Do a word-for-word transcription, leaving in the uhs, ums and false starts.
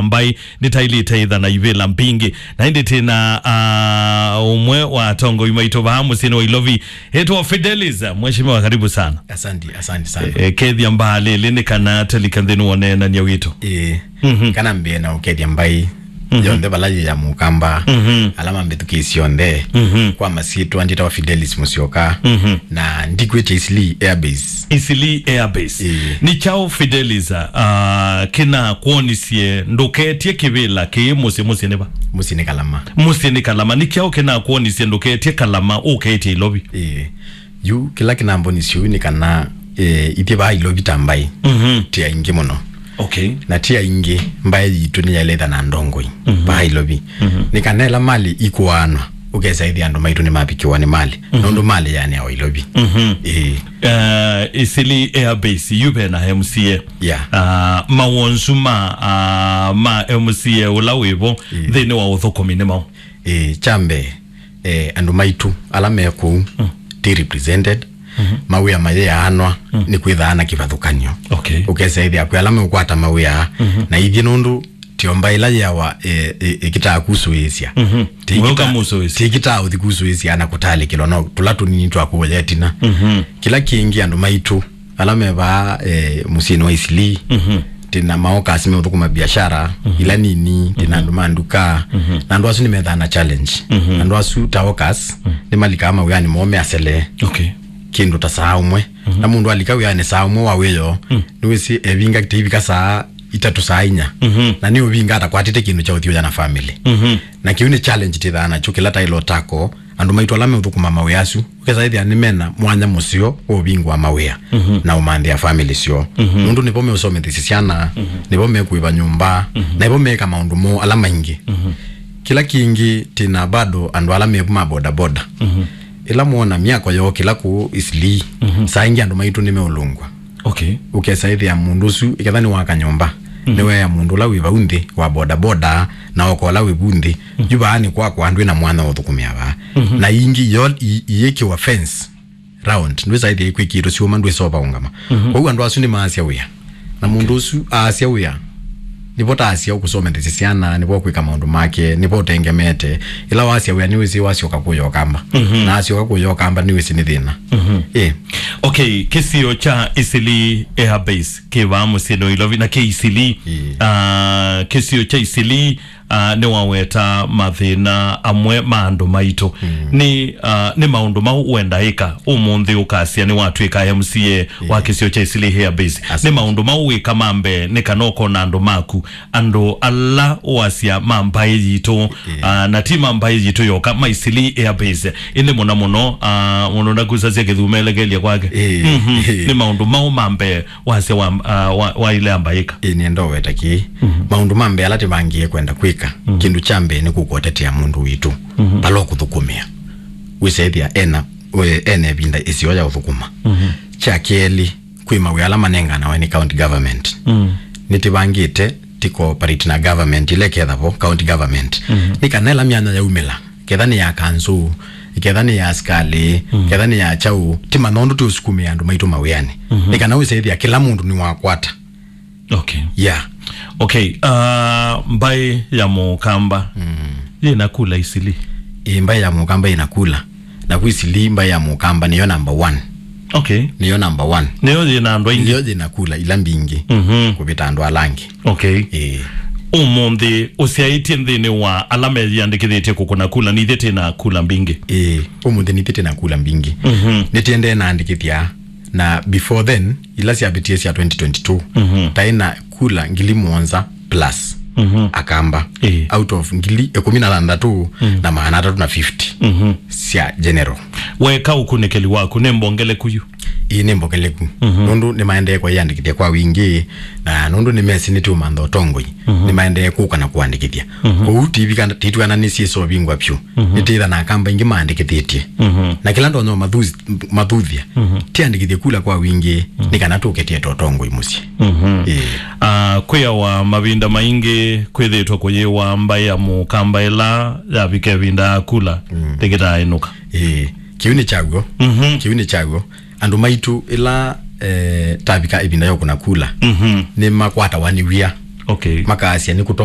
mbaĩ nĩtaĩlĩte ĩtha na ivĩla mbingĩ. Na ĩndĩ tĩna, ah, ũmwe wa atongoi maitũ vaa mũsyĩnĩ wa Ilovi, ĩtwa Fidelis. Mheshimiwa, karibu sana. Asante, asante sana. Eh, kethya mbaa lĩlĩ nĩ kana tũlike nthĩnĩ wa ũneenany'a witũ. Ĩĩ. Mhm. Kana mbĩe na ũkethya mbaĩ Mhm. yonthe vala yĩ ya Mũkamba, Mhm. ala mambĩthukĩĩsye onthe, Mhm. kwa masyĩtwa njĩtawa Fidelis Musyoka, Mhm. na ndikwĩtya Eastleigh Air Base. Eastleigh Air Base. Ĩĩ. Nĩ kyaũ Fidelis, ah, kĩnakwonisye ndũketye kĩvĩla kĩĩ mũsyĩ, mũsyĩ nĩ va? Mũsyĩ nĩ Kalama. Mũsyĩ nĩ Kalama. Nĩ kyaũ kĩnakwonisye ndũketye Kalama ũketye Ilovi? Ĩĩ. Yu, kĩla kĩnambonisye ũu nĩ kana, eh, ithyĩ vaa Ilovi ta mbaĩ, Mhm. ti aingĩ mũno. Okay. Na ti aingĩ, mbaĩ yitũ nĩyaĩle ĩtha na ndongoi Mhm. vaa Ilovi. Mhm. Nĩ kana ĩla malĩ ikũaanwa, ũkesa ĩthĩa andũ maitũ nĩmavikĩwa nĩ malĩ. Mhm. Nũndũ malĩ yaanĩawa Ilovi. Mhm. Ĩĩ. Eh, Eastleigh Air Base, yu ve na M C A. Yeah. Ah, mawonzu ma, ah, ma M C A ũla wĩvo Ĩĩ. nthĩnĩ wa ũthũkũmi nĩ maũ? Ĩĩ, kya mbee, eh, andũ maitũ ala me kũu, Mm. ti represented, Mhm. mawĩa mayĩaanwa Mm. nĩ kwĩthaa na kĩvathũkany'o. Okay. Ũkesa ĩthĩa kwĩ ala meũkwata mawĩa, Mhm. na ithyĩ nũndũ tĩ o mbaĩ ĩla yĩawa, eh, eh, ĩkĩtaa kusũĩĩsya. Mhm. Tĩ We ĩkĩta-, ũkamusũĩĩsya. tĩ ĩkĩtaa ũthi kusũĩĩsya na kũtalĩkĩlwa no tũla tũnini twa kũya ĩtina. Mhm. Kĩla kĩngĩ andũ maitũ, ala me vaa, eh, mũsyĩnĩ wa Eastleigh, Mhm. tĩ na maokas meũthũkũma biashara, Mhm. ila nini, tĩ na Mhm. andũ ma nduka, Mhm. na andũ asu nĩmethaa na challenge. Mhm. Andũ asu ta okas, Mhm. nĩmalikaa mawĩanĩ moo measele Okay. kĩndũ ta saa ũmwe. Mhm. Na mũndũ alika wĩanĩ saa ũmwe wa wĩoo, Mm. nĩwĩsĩ evinga kĩtĩivika saa itatũ, saa inya. Mhm. Na nĩũvinga atakwatĩte kĩndũ kya ũthi ũya na family. Mhm. Na kĩu nĩ challenge tĩthaa nakyo kĩla taĩlo tako, andũ maitũ ala meũthũkũma mawĩa asu, ũkesa ĩthĩa nĩ mena mwanya mũseo wa ũvingũa mawĩa Mhm. na ũmanthĩa family syoo. Mhm. Nũndũ nĩvo meũsomethesya syana, Mhm. nĩvo mekũĩva nyũmba, Mhm. na nĩvo meeka maũndũ moo ala maingĩ. Mhm. Kĩla kĩngĩ, tĩ na bado andũ ala mevu ma boda boda. Mhm. Ĩla mwona myako yookĩla kũu Eastleigh, Mhm. saa ingĩ andũ maitũ nĩmeũlũngwa. Okay. Ũkesa ĩthĩa mũndũ ũsu, ĩketha nĩ wa kanyũmba, Mhm. nĩwea mũndũ ũla wĩ vau nthĩ wa boda boda, na oka ũla wĩ vu nthĩ, Mhm. yu vaa nĩ kwakwa, ndwĩ na mwanya wa ũthũkũmĩa vaa. Mhm. Na ingĩ yo i-, iyĩkĩwa fence round, ndwĩsa ĩthĩa ikwĩkĩĩtwe syũma, ndwĩsa ũvaũngama. Mhm. Kwoou andũ asu nĩmaasya wĩa. Na mũndũ ũsu aasya wĩa, nĩvo taasya ũkũsomethesya syana, nĩvo kwĩka maũndũ make, nĩvo ũtengemete. Ĩla wasya wĩa nĩwĩsĩ wasyoka kũya ũkamba. Mhm. Na asyoka kũya ũkamba nĩwĩsĩ nĩ thĩna. Mhm. Ĩ. Okay, kĩsio kya Eastleigh Air Base kĩ vaa mũsyĩnĩ wa Ilovi na kĩ Eastleigh. Ĩ. Ah, kĩsio kya Eastleigh, ah, nĩwaweta mathĩna amwe ma andũ maitũ. Mm. Nĩ, ah, nĩ maũndũ mau wenda ĩka ũmũnthĩ ũkasya nĩwatw'ĩka M C A wa Ĩ. kĩsio kya Eastleigh Air Base? Asa. Nĩ maũndũ mau wĩka ma mbee nĩ kana ũkona andũ maku, andũ ala ũasya ma mbaĩ yitũ, Ĩ. ah, na ti ma mbaĩ yitũ yoka, ma Eastleigh Air Base, ĩndĩ mũno mũno, ah, mũndũ ndakusasya kĩthumelekelye kwake. Ĩ. Mhm. Ĩ. Nĩ maũndũ mau ma mbee wasya wa, ah, wa, wa ile ambaĩka. Ĩ, nĩenda ũweta kĩĩ. Mhm. Maũndũ ma mbee ala tĩvangie kwenda kwĩka, Mhm. kĩndũ kya mbee nĩ kũkũtetea mũndũ witũ, Mhm. vala ũkũthũkũmĩa. Wĩsethĩa ena, we, ena ĩvinda ĩseo ya ũthũkũma. Mhm. Kya kelĩ, kwĩ mawĩa ala manenganawe nĩ county government. Mhm. Nĩtĩvangĩte tĩ cooperate na government ĩla ĩkethavo county government. Mhm. Nĩ kana ĩla myanya yaumĩla, ketha nĩ ya kanzũ, ketha nĩ ya asikalĩ, Mm. ketha nĩ ya kyaũ, tĩmanya ũndũ tũũsukumĩa andũ maitũ mawĩanĩ. Mhm. Nĩ kana wĩsethĩa kĩla mũndũ nĩwakwata. Okay. Yeah. Okay, uh, mbaĩ ya Mũkamba Mm. yĩna kula Eastleigh? Ĩ, mbaĩ ya Mũkamba ĩna kula. Na kwĩ Eastleigh mbaĩ ya Mũkamba nĩyo number one. Okay. Nĩyo number one. Nĩyo yĩna andũ aingĩ? Nĩyo yĩna kula ila mbingĩ Mhm. kũvĩta andũ ala angĩ. Okay. Ĩĩ. Ũmũnthĩ ũsyaĩtye nthĩnĩ wa ala meyĩandĩkĩthĩtye kũkũna kula, nithyĩ twĩ na kula mbingĩ? Ĩĩ, ũmũnthĩ nithyĩ twĩ na kula mbingĩ. Mhm. Nĩtĩendee naandĩkĩthya, na before then, ila syavĩtie sya twenty twenty-two, Mhm. taĩ na kula ngili mũonza plus Mhm. Akamba, Ĩĩ. out of ngili ĩkũmi na thanthatũ Mm. na maana atatũ na fifty Mhm. sya general. Weka ũkunĩkĩli waku nĩ mbongeleku yu? Ĩĩ, nĩ mbongeleku. Mhm. Nũndũ nĩmaendee kwĩyandĩkĩthya kwa wingĩ, na nũndũ nĩmesĩ nĩtũũmantha ũtongoi, Mhm. nĩmaendee kũka na kũandĩkĩthya. Mhm. Kwoou tivika-, titwĩananĩsye ĩseũvingwa vyũ. Mhm. Nĩtĩtha na Akamba aingĩ maandĩkĩthĩtye. Mhm. Na kĩla ndonya ũmathuthya, Mhm. tiandĩkĩthye kula kwa wingĩ, Mhm. nĩ kana tũketete ũtongoi mũsyĩ. Mhm. Ĩĩ. Ah, kwĩawa mavinda maingĩ kwĩthĩtwe kũyĩwa mbaĩ ya Mũkamba ĩla yavika ĩvinda ya kula, Mm. ndĩkĩtaa ĩnũka. Ĩĩ. Kĩu nĩ kyaw'o. Mhm. Kĩu nĩ kyaw'o. Andũ maitũ ĩla, eh, tavika ĩvinda ya ũkũna kula, Mhm. nĩmakwatawa nĩ wia. Okay. Makasya nĩ kũtonya